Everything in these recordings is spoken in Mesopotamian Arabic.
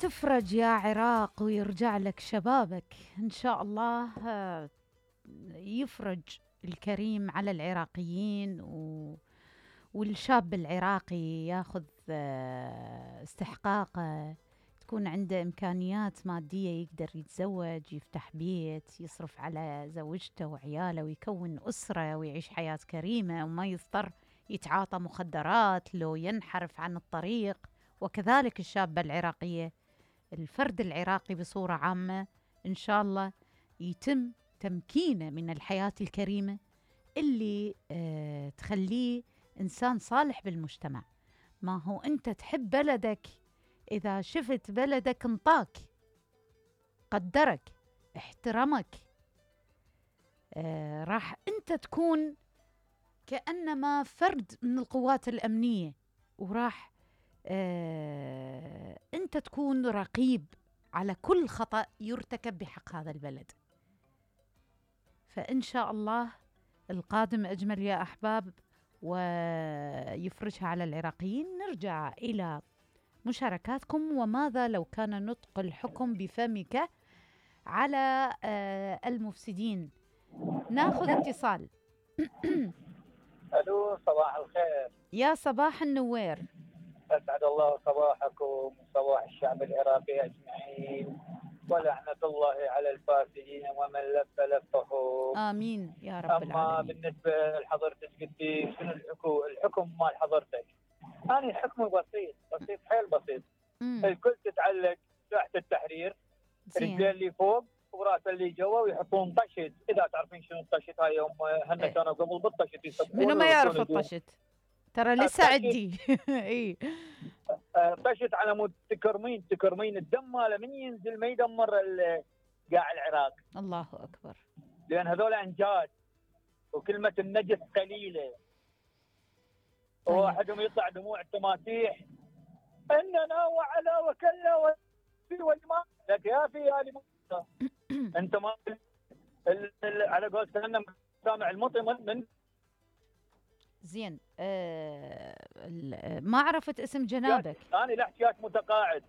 تفرج يا عراق ويرجع لك شبابك إن شاء الله. يفرج الكريم على العراقيين والشاب العراقي ياخذ استحقاقه، تكون عنده إمكانيات مادية يقدر يتزوج، يفتح بيت، يصرف على زوجته وعياله ويكون أسرة ويعيش حياة كريمة وما يضطر يتعاطى مخدرات لو ينحرف عن الطريق. وكذلك الشابة العراقية، الفرد العراقي بصورة عامة إن شاء الله يتم تمكينه من الحياة الكريمة اللي تخليه إنسان صالح بالمجتمع. ما هو أنت تحب بلدك، إذا شفت بلدك انطاك، قدرك، احترمك، راح أنت تكون كأنما فرد من القوات الأمنية، وراح أنت تكون رقيب على كل خطأ يرتكب بحق هذا البلد. فإن شاء الله القادم أجمل يا أحباب، ويفرجها على العراقيين. نرجع إلى مشاركاتكم. وماذا لو كان نطق الحكم بفمك على المفسدين؟ ناخذ اتصال. الو، صباح الخير. يا صباح النوير. اسعد الله صباحكم وصباح الشعب العراقي اجمعين، ولعنة الله على الفاسدين ومن لف لفه. امين يا رب العالمين. اما بالنسبه لحضرتك قلتي شنو الحكم مال حضرتك؟ انا حكمي بسيط حيل بسيط. الكل تتعلق ساحه التحرير، رجلين اللي فوق وراسه اللي جوا، ويحطون طشت. اذا تعرفين شنو الطشت هاي، يوم هن كانوا قبل بالطشت يسبون. منو ما يعرف الطشت؟ ترى لسه عندي. اي طشت على مود تكرمين الدم ماله من ينزل ما يدمر قاع العراق. الله اكبر. لان هذول انجاد، وكلمه النجس قليله. طيب. وواحدهم يطلع دموع التماسيح اننا وعلى وكلا والما لك يا في يا انت ما على قول سامع المطي من زين. ما عرفت اسم جنابك. انا الاحتياج متقاعد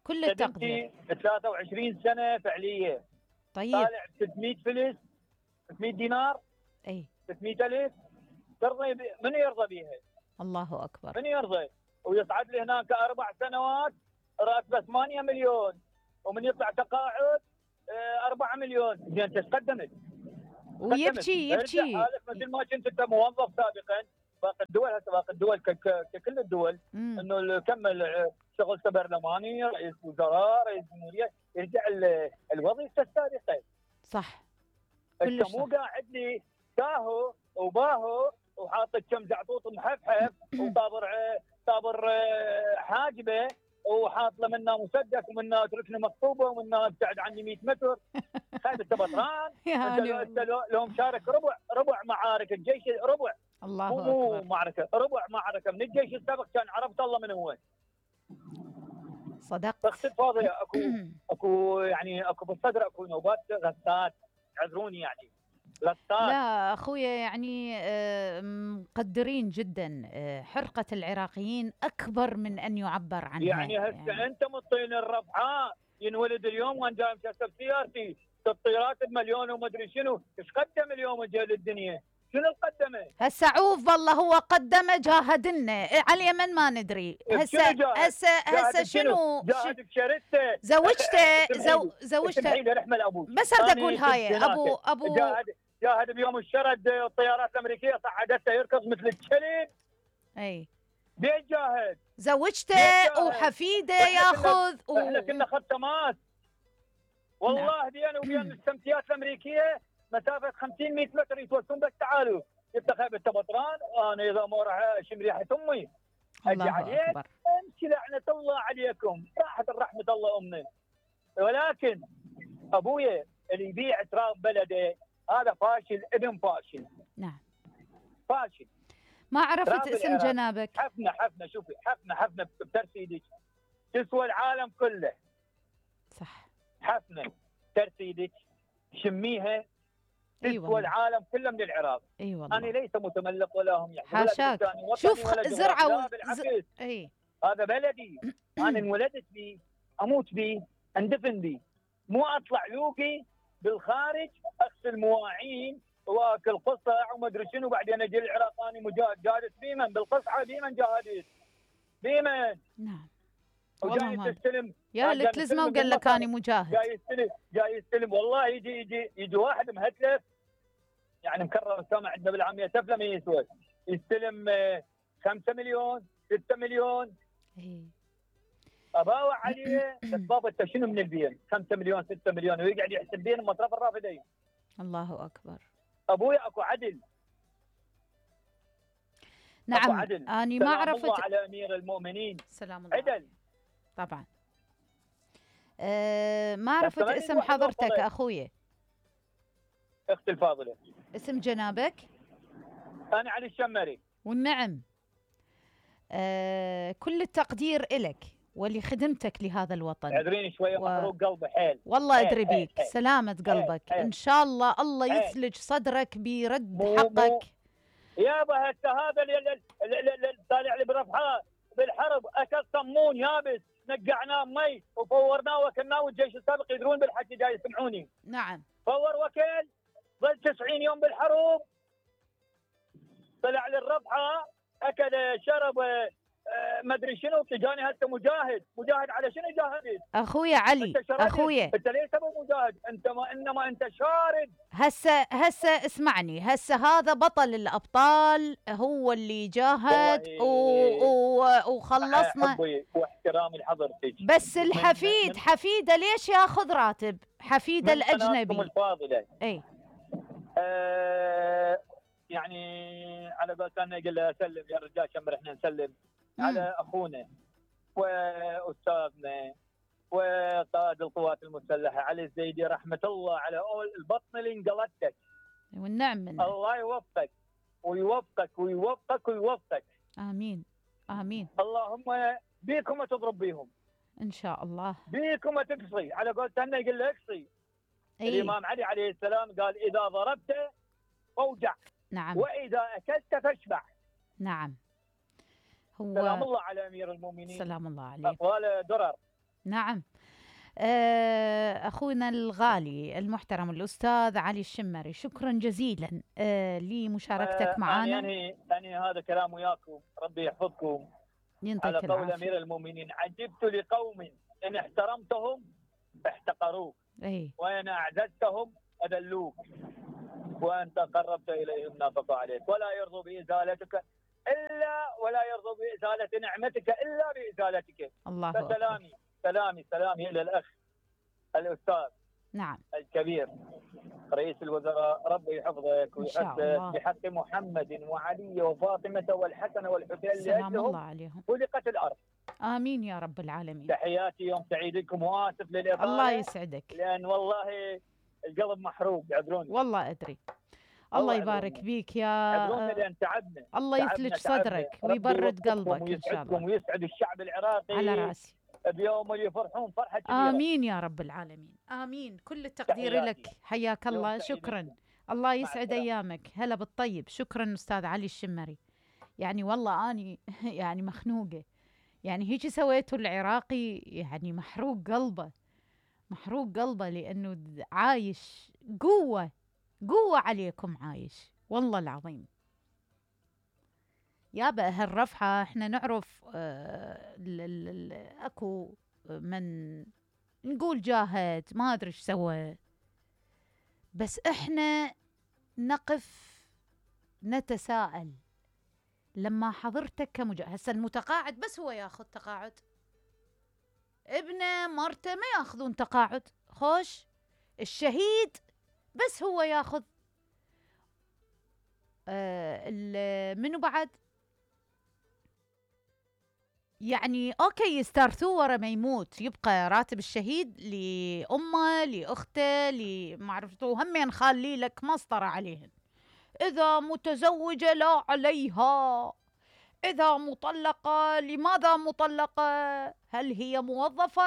كل التقدير. 23 سنه فعليه. طيب. طالع 600 فلس، 600 دينار، اي 600,000. ترضي من يرضى بيها؟ الله اكبر. من يرضى؟ ويصعد لي هناك 4 سنوات راتبه 8 مليون، ومن يطلع تقاعد 4 مليون. زين ايش قدمت؟ ويبكي مثل ما كنت انت موظف سابقا. باقي الدول ككل الدول انه كمل شغل برلماني، رئيس وزراء، رئيس جمهوريه، يرجع الوظيفه السابقه. صح. انت مو قاعد لي تاهو وباهو وحاط كم زعطوط محفحف وطابر حاجبه، وحاط له منها مسدس ومنها ركنه مخطوبه ومنها ابتعد عني 100 متر. خايف انت بطران. انت لو مشارك ربع معارك الجيش، ربع. الله مو اكبر. معركه، ربع معركه من الجيش السابق، كان عرفت الله من هو. صدقت. باختصار اكو بالصدر اكو نوبات غثات. اعذروني يعني غثات. لا اخويا، يعني مقدرين جدا. حرقة العراقيين اكبر من ان يعبر عنها. يعني هسه انت مطين الرفعاء ينولد اليوم وانا جاي مسافر سيارتي تطيرات بمليون وما ادري شنو. ايش قدم اليوم جاي للدنيا؟ شنو قدمه؟ هسه عوف والله هو قدمه، جاهدنا على اليمن ما ندري. هسه شنو؟ جاهد بشرته، زوجته رحمه لابوك. بس اريد اقول هاي ابو جاهد بيوم الشرد الطيارات الامريكيه صعدته يركض مثل الكلب. اي بين جاهد. زوجته وحفيده ياخذ. احنا كنا خط تماس والله. بينه وبين السمسيات الامريكيه مسافه 50 100 متر يتوسون. بس تعالوا انت خايف انت بطران، انا اذا ما راح اشم ريحه امي اجي عليك. امشي لعنه الله عليكم، راحت الرحمه الله امنا. ولكن ابويا اللي يبيع تراب بلده هذا فاشل، ابن فاشل. نعم فاشل. ما عرفت اسم جنابك. حفنه شوفي، حفنه بترسيدك تسوى العالم كله. صح. حفنه ترسيدك شميها تسوى العالم كله من العراق. اي والله. انا ليس متملق ولا هم يعني. حاشاك. شوف زرعه اي هذا بلدي. انا انولدت فيه، اموت بيه، اندفن بيه، مو اطلع لوقي بالخارج اغسل مواعين واكل قصع وما ادري شنو، بعدين اجي العراق اني مجاهد، جالس بيمن بالقصعه، بيمن جاهدت بيمن. نعم والله وجاي ما تستلم يا لك لزمه وقال لك اني مجاهد. جاي يستلم والله يجي واحد مهتلف يعني مكرر السامع عندنا بالعاميه تفله ما يسوى، يستلم 5 مليون 6 مليون. اي اباوع عليه بس بابا انت شنو من البين 5 مليون 6 مليون ويقعد يحسب بين مصرف الرافدين. الله اكبر. ابويا اكو عدل. نعم أكو عدل. اني ما سلام عرفت. الله على امير المؤمنين. سلام الله عدل طبعا. ما عرفت اسم حضرتك اخوي. اختي الفاضله. اسم جنابك؟ انا علي الشمري. والنعم. كل التقدير إلك ولخدمتك لهذا الوطن. اعذريني شويه محروق قلبي حيل. والله ادري بيك. سلامة قلبك ان شاء الله. الله يثلج صدرك برد حقك. يابا هذا اللي طالع لي برفحه بالحرب اكل صمون يابس نقعناه مي وفورناه وكلناه والجيش السابق يدرون بالحكي جاي يسمعوني. نعم. فور وكل ظل 90 يوم بالحروب طلع للرفحه اكل شرب ما ادري شنو تجاني هسه مجاهد على شنو جاهدت؟ اخويا علي اخويا انت ليش تبغى مجاهد؟ انت ما انما انت شارد. هسه اسمعني. هسه هذا بطل الابطال هو اللي جاهد وخلصنا. واحترامي لحضرتك بس الحفيد حفيده ليش ياخذ راتب؟ حفيده الاجنبي الفاضله اي يعني على قولت انا قال له اسلم يا رجال شمر احنا نسلم على اخونا واستاذنا وقائد القوات المسلحه علي الزيدي رحمه الله على البطن اللي انقلتك. والنعم منه. الله يوفقك ويوفقك ويوفقك ويوفقك. امين امين. اللهم بيكم تضرب بيهم ان شاء الله. بيكم تقصي على قولت انا يقول له اقصي. الامام علي عليه السلام قال اذا ضربت فوجع. نعم. واذا اكلت فاشبع. نعم. هو سلام الله على امير المؤمنين. سلام الله عليه. اقوال درر. نعم. اخونا الغالي المحترم الاستاذ علي الشمري شكرا جزيلا لمشاركتك معنا. يعني هذا كلام وياكم ربي يحفظكم. على قول امير المؤمنين عجبت لقوم ان احترمتهم احتقروك وان اعززتهم اذلوك وانت قربت اليهم نافقوا عليك ولا يرضوا بازالتك الا ولا يرضوا بازاله نعمتك الا بازالتك. الله فسلامي سلامي الى الاخ الاستاذ نعم الكبير رئيس الوزراء ربي يحفظك ويحفظك بحق محمد وعلي وفاطمه والحسن والحسين سلام الله عليهم خلقت الارض. امين يا رب العالمين. تحياتي يوم سعيد لكم واسف للاطاله. الله يسعدك. لان والله القلب محروق عذروني. والله ادري. الله يبارك بيك يا عذروني لان تعبنا. الله يثلج صدرك ويبرد قلبك ان شاء الله. ويسعد الشعب العراقي على راسي. بيوم اللي يفرحون فرحه كبيره. امين يا رب العالمين. امين. كل التقدير لك. حياك الله. شكرا. الله يسعد ايامك. هلا بالطيب. شكرا استاذ علي الشمري. يعني والله اني يعني مخنوقه. يعني هيك سويته العراقي يعني محروق قلبه لانه عايش قوه عليكم عايش والله العظيم. يابا هالرفحة احنا نعرف اكو من نقول جاهد ما ادري ايش سوى بس احنا نقف نتساءل لما حضرتك كمجاهد. هسه المتقاعد بس هو ياخذ تقاعد. ابنه مرته ما ياخذون تقاعد. خوش الشهيد بس هو ياخذ. منو بعد يعني اوكي يسترثوه ورا ما يموت يبقى راتب الشهيد لامه لاخته ما عرفتوا همين خالي لك مسطره عليهن. اذا متزوجه لا عليها. اذا مطلقه لماذا مطلقه؟ هل هي موظفه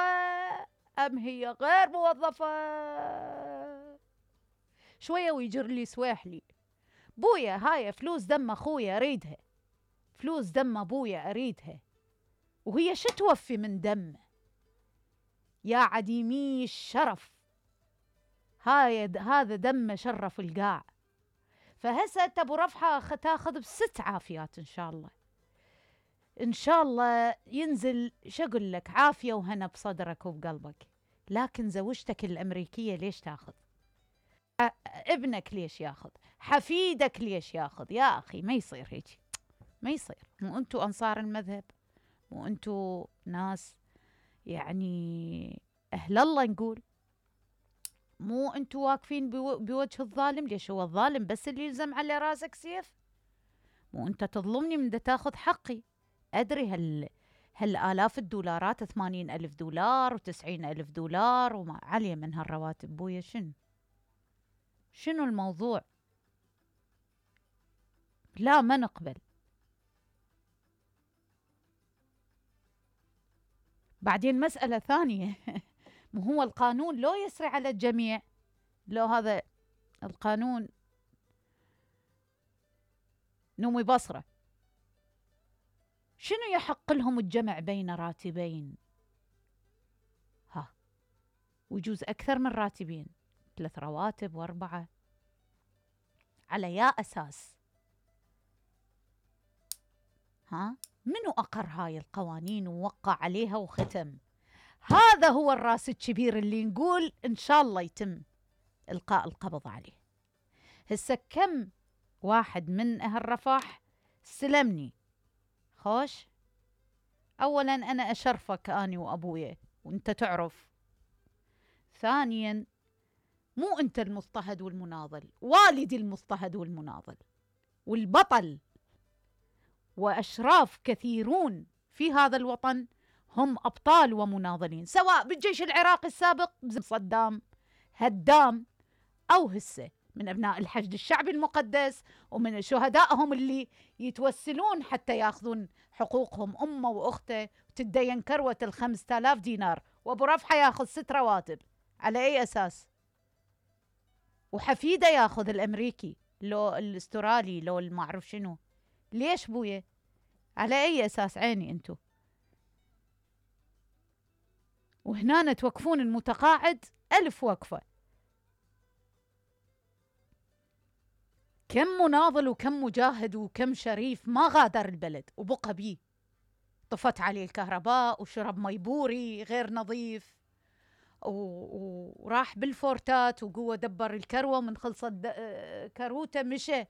ام هي غير موظفه؟ شويه ويجر لي سواحلي. بويا هاي فلوس دم اخويا اريدها. فلوس دم ابويا اريدها. وهي شو توفي من دمه؟ يا عديمي الشرف، هذا دمه شرف القاع. فهسه انت ابو رفحه تاخذ بست عافيات ان شاء الله، ان شاء الله ينزل شو اقول لك عافيه وهنا بصدرك وبقلبك. لكن زوجتك الامريكيه ليش تاخذ؟ ابنك ليش ياخذ؟ حفيدك ليش ياخذ؟ يا اخي ما يصير هيك، ما يصير. مو انتو انصار المذهب؟ مو انتو ناس يعني اهل الله نقول؟ مو انتو واقفين بوجه الظالم؟ ليش هو الظالم بس اللي يلزم على راسك سيف؟ مو انت تظلمني من دا تاخذ حقي. ادري هالالاف الدولارات، 80,000 دولار و90,000 دولار وما علي من هالرواتب بويا. شنو الموضوع؟ لا ما نقبل. بعدين مسألة ثانية مو هو القانون لو يسري على الجميع؟ لو هذا القانون نومي بصرة، شنو يحق لهم الجمع بين راتبين؟ ويجوز أكثر من راتبين، 3 رواتب و4. على يا أساس؟ منو أقر هاي القوانين ووقع عليها وختم؟ هذا هو الراس الكبير اللي نقول إن شاء الله يتم إلقاء القبض عليه. هسه كم واحد من أهل رفح استلمني خوش. أولا أنا أشرفك أني وأبويا وأنت تعرف. ثانيا مو أنت المضطهد والمناضل، والدي المضطهد والمناضل والبطل. وأشراف كثيرون في هذا الوطن هم أبطال ومناضلين، سواء بالجيش العراقي السابق صدام هدام، أو هسه من أبناء الحشد الشعبي المقدس ومن شهدائهم اللي يتوسلون حتى ياخذون حقوقهم. أمه وأخته تدين كروة 5,000 دينار، وأبو رفحة ياخذ 6 رواتب. على أي أساس؟ وحفيده ياخذ الأمريكي لو الاسترالي لو المعرف شنو. ليش بويا؟ على أي أساس؟ عيني أنتو. وهنا توقفون المتقاعد 1000 وقفة. كم مناضل وكم مجاهد وكم شريف ما غادر البلد وبقى بيه، طفت عليه الكهرباء وشرب مي بوري غير نظيف وراح بالفورتات وقوة دبر الكروة، من خلصت كروته مشى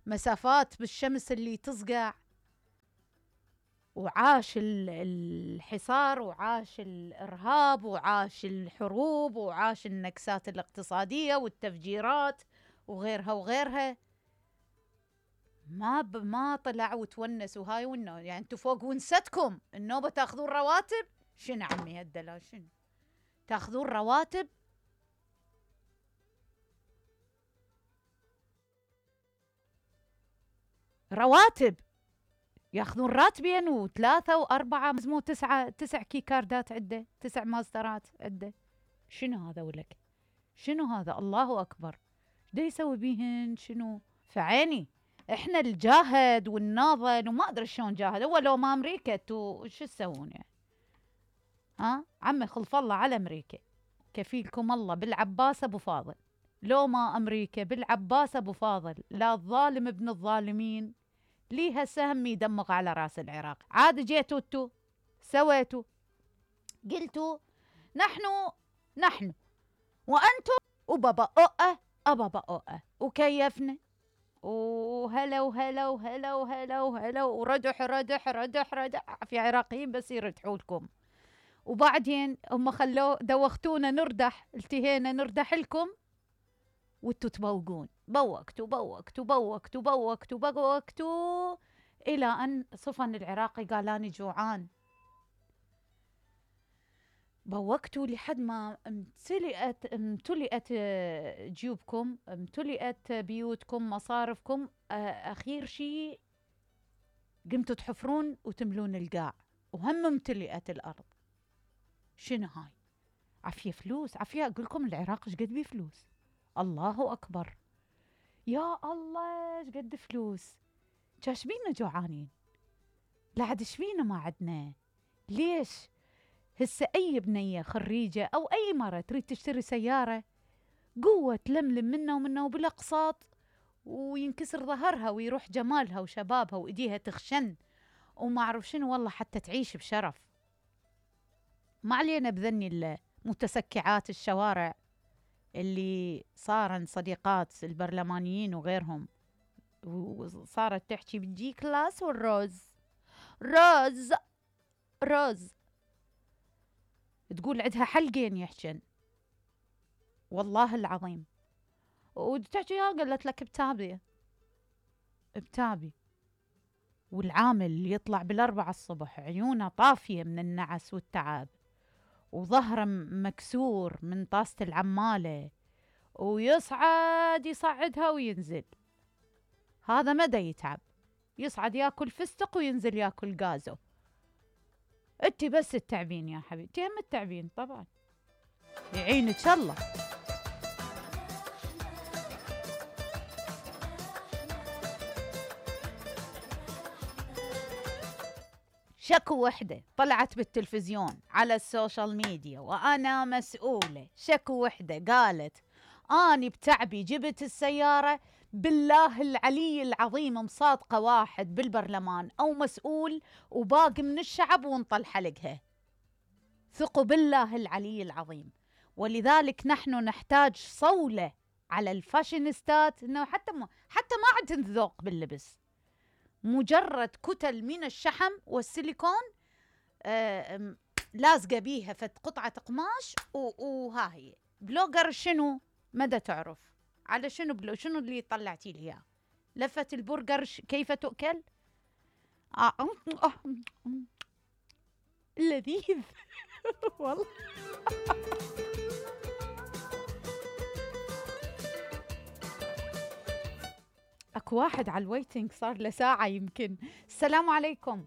مسافات بالشمس اللي تصقع، وعاش الحصار وعاش الإرهاب وعاش الحروب وعاش النكسات الاقتصادية والتفجيرات وغيرها وغيرها. ما طلع وتونس وهاي يعني انتو فوق ونستكم النوبة تاخذون رواتب. شنو عمي هالدلال؟ شنو تاخذون رواتب؟ رواتب ياخذون راتبين و3 و4 مو 9 كيكاردات عنده، 9 ماسترات عنده. شنو هذا ولك؟ شنو هذا؟ الله أكبر. دا يسوي بيهن شنو؟ فعيني احنا الجاهد والناضل وما ادري شلون جاهد. هو لو ما امريكا انتو شو تسوون يعني؟ عمي خلف الله على امريكا، كفيلكم الله بالعباس ابو فاضل. لو ما امريكا بالعباس ابو فاضل، لا الظالم ابن الظالمين ليها سهم يدمغ على راس العراق. عاد جيتوا انتو سويتوا قلتوا نحن وانتم وبابا ابابا وكيفنا وهلا وهلا وهلا وهلا وهلا وردح ردح ردح ردح في عراقيين بس يردحوا لكم. وبعدين هم دوختونا نردح، التهينا نردح لكم وانتوا تبوقون. بوقتوا الى ان صفن العراقي قال اني جوعان. بوقتوا لحد ما امتلئت جيوبكم، امتلئت بيوتكم، مصارفكم. اخير شيء قمتوا تحفرون وتملون القاع، وهم امتلئت الارض. شنو هاي؟ عفيه فلوس، عفيه. اقول لكم العراق ايش قد بيه فلوس، الله اكبر. يا الله ايش قد فلوس. ايش بينا جوعانين؟ لا عاد ايش بينا ما عدنا؟ ليش هسه أي بنية خريجة أو أي مرة تريد تشتري سيارة قوة تلملم منه ومنه وبالأقساط، وينكسر ظهرها ويروح جمالها وشبابها وإيديها تخشن وما أعرف شنو، والله حتى تعيش بشرف. ما علينا بذني المتسكعات الشوارع اللي صارن صديقات البرلمانيين وغيرهم، وصارت تحكي بتجي كلاس والروز روز روز، تقول عندها حلقين يحجن والله العظيم، وتحكي قالت لك بتابي بتابي. والعامل اللي يطلع بالأربعة الصبح عيونه طافية من النعس والتعب وظهره مكسور من طاسة العمالة، ويصعد يصعدها وينزل، هذا مدى يتعب، يصعد ياكل فستق وينزل ياكل غازو. انتي بس التعبين يا حبيبتي، هم التعبين طبعا، يعينك الله. شكو وحدة طلعت بالتلفزيون على السوشيال ميديا وأنا مسؤولة، شكو وحدة قالت أني بتعبي جبت السيارة، بالله العلي العظيم مصادقة واحد بالبرلمان أو مسؤول وباقي من الشعب وانطل حلقها، ثقوا بالله العلي العظيم. ولذلك نحن نحتاج صولة على الفاشينيستات، إنه حتى ما عندهم ذوق باللبس، مجرد كتل من الشحم والسيليكون لازقة بيها فد قطعة قماش وها هي بلوجر. شنو مدى تعرف على شنو شنو اللي طلعتي لي اياه؟ لفة البرجر كيف تؤكل؟ لذيذ والله. اكو واحد على الويتنج صار له ساعة يمكن. السلام عليكم.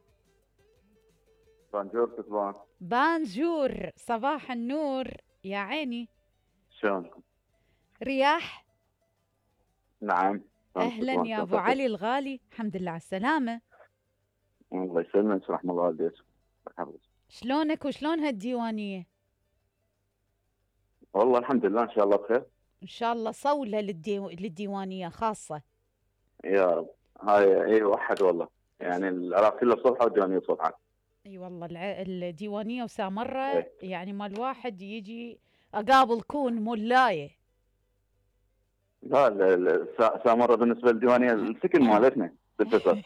بانجور كتبان. بانجور، صباح النور يا عيني. شلون؟ رياح؟ نعم. اهلا يا ابو علي الغالي، الحمد لله على السلامة. الله يسلمك، رحم الله والديك. شلونك وشلون هالديوانية؟ والله الحمد لله ان شاء الله بخير. ان شاء الله صولة للديوانية خاصة. يا رب. هاي اي وحد والله، يعني العراق كله صبحة والديوانية صبحة. اي والله الديوانية وسامرة يعني مال واحد يجي اقابل كون مولاية. لا سامرة بالنسبة للديوانية السكن مالتنا بالفصل.